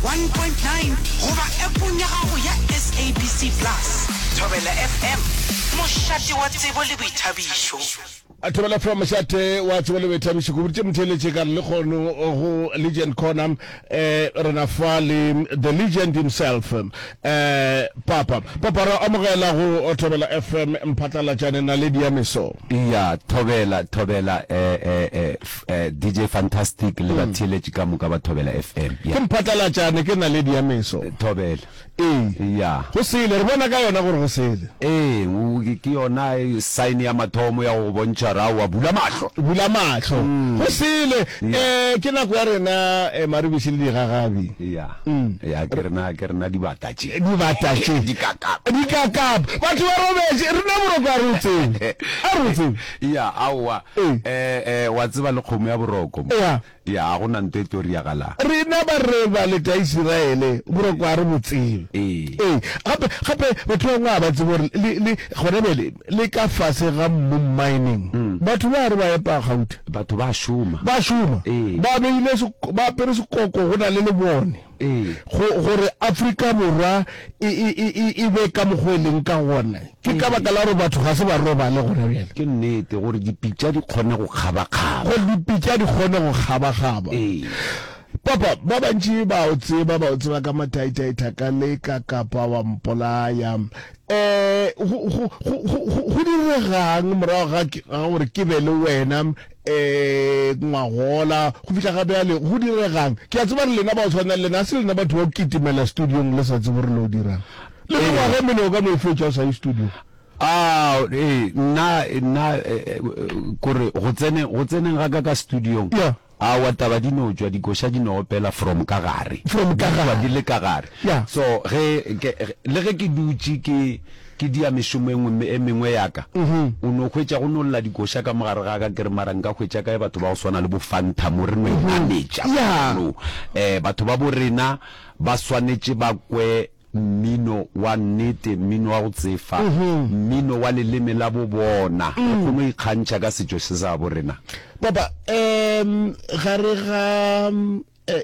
101.9 goba appong ya gago ya SABC Plus. Thobela FM, mošate wa tsebo le boithabišo. Thobela FM, mošate wa tsebo le boithabišo. Ke boditše motheeletše ka re lekgono go Legend Corner eh, re na fa le the legend himself eh, Papa. Papa, re amogela go Thobela FM Mphatlalatšane naledi ya meso. Ya, thobela, thobela, eh, eh, eh, eh, DJ Fantastic le batheeletši ka moka ba Thobela FM. Ya. Ke Mphatlalatšane, ke naledi ya meso. Thobela. Ee. Ya. Go sele, re bona ka yona gore go sele. Ee, o, ke, ke yona sign ya mathomo ya go go bontšha gore aowa, bula mahlo. Bula mahlo. Go sele. Eh, ke nako ya rena, eh, maribiši le digagabi. Ya. Ya, ke rena, ke rena dibata tše. Dibata tše. Dikakapa. Dikakapa. Batho ba robetše, rena boroko a re o tsebe. A re o tsebe. Ya, aowa. Ee. Eh, eh, wa tseba le kgomo ya boroko mo. Ya. Ya, ga go na nto e tlo riagalang. Rena ba re ba leta Isiraele, boroko ga re bo tsebe. Ee. Ee. Gape, gape batho ba bangwe ga ba tsebe gore le, le, gona bjale, le ka fase ga mmu mining, batho ba re ba epa gauta. Batho ba šoma. Ba šoma. Ee. Ba beile, ba apere sekoko go na le lebone. Ee. Go, gore Afrika Borwa e, e, e, e, e be ka mokgwa e leng ka gona. Ke ka baka la gore batho ga se ba robale gona bjale. Ke nnete, gore dipitša di kgone go kgabakgaba. Gore dipitša di kgone go kgabakgaba. Ee. Papa, ba bantši ba o tseba, ba o tseba ka mathaithai, thaka le ka kapa wa mpolaya. Um, go, go, go, go, go, go diregang morago ga, ga gore ke be le wena um ngwagola go fihla ga bjale, go diregang? Ke a tseba gore lena ba go tshwana le lena, ga se lena batho ba go kitimela studiong le sa tsebe gore le o dirang. Le mengwaga e mene o ka no e fetša o sa ye studio. Ah, ee, nna, nna, kore go tseneng, go tseneng ga ka ka studiong, Yeah. aowa taba di no tšwa, dikoša di no opela from ka gare. From ka Di tšwa gare. di le ka gare. Yeah. So, ge ke, le ge ke dutše ke, ke dia mešomo e nngwe, e mengwe ya ka, o no hwetša go no lla dikoša ka mo gare ga ka, ke re mara nka hwetša kae batho ba go swana le bo Fanta mo re no e nametša Yeah. mono. Eh, batho ba bo rena ba swanetše ba kwe Mmino wa nnete, mmino wa go tsefa, mmino wa leleme la bo bona. Re kgone go ikgantšha ka setšo se sa bo rena. Papa, um gare ga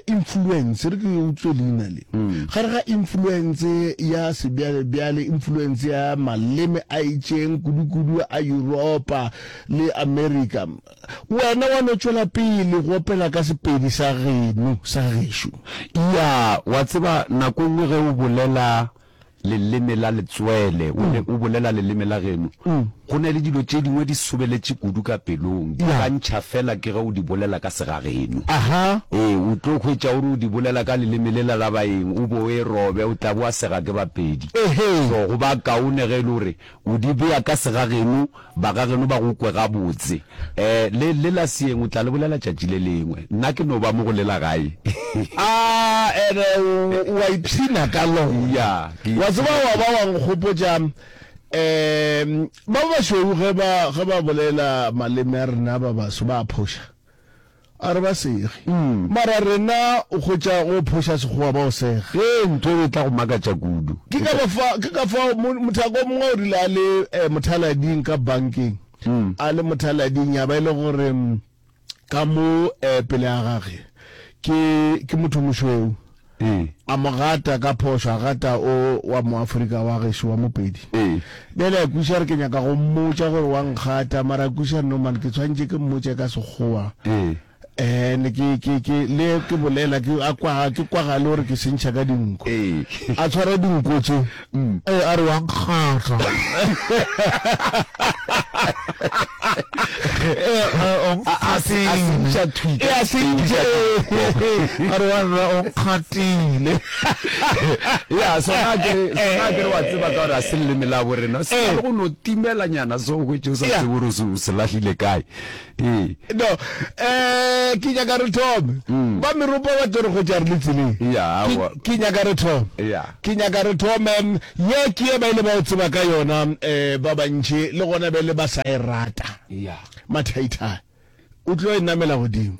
influence, re ke utswe leina le, gare ga influence ya sebjalebjale, influence ya maleme a itšeng, kudu-kudu a Yuropa le Amerika, Wena wa no tšwela pele go opela ka Sepedi sa geno, sa gešo. Ya, wa tseba, nako e nngwe ge o bolela leleme la letswele, o le, o bolela leleme la geno, go na le dilo tše dingwe di sobeletše kudu ka pelong, di ka ntšha feela ke ge o di bolela ka segageno. Aha. Ee, o tlo hwetša o re o di bolela ka leleme lela la baeng, o bo o e robe, o tla bo wa sega ke Bapedi. Ehe. So, go ba kaone ge e le gore O di bea ka segageno, bagageno ba go kwe gabotse. Eh, le, le la seeng o tla le bolela tšatši le lengwe. Nna ke no ba mo go le la gae. A, ene o, o a ipshina ka lona. Ya, ke Wa tseba ipshina wa ba kudu. wa nkgopotša, um, ba bašweu ge ba, ge ba bolela maleme a rena ba baso ba a phoša. A re ba sege. Mara rena o hwetša go phoša Sekgowa ba o sega. Ee, ntho eo e tla go makatša kudu. Ke ka ba fa, ke ka fao mo, mothaka o mongwe o rile a le eh, mothalading ka bankeng, a le mothalading ya ba e le gore ka mo eh, pele ga gage ke, ke motho mošweu. Ee. A mo gata ka phošo, a gata o wa Moafrika wa gešo wa Mopedi. Ee. Bjale a kwešiša re ke nyaka go mmotša gore wa nkgata, mara a kwešiša no man ke tshwanetše ke mmotše ka Sekgowa. Ee. And ke, ke, ke, le ke bolela ke, a kwa, ke kwagale gore ke sentšha ka dinko. Ee. A tshwara dinko tše. Ee, a re wa nkgata. A sentša thwi. E a sentša. A re wa nna o nkgatile. Ya, sona ke re, sona ke re wa tseba ka gore a se leleme la bo rena. Se na le go no timelanyana so o hwetše o sa tsebe gore o se lahlile kae. Ee. No, eh ke nyaka re thome. Ba meropa ba tlo re hwetša re le tseleng. Ya, aowa. Ke nyaka re thome. Ya. Ke nyaka re thome. Ye ke ye ba ile ba o tseba ka yona um ba bantši, le gona bjale ba sa e rata. Ya. Mathaithai o tlo e namela godimo.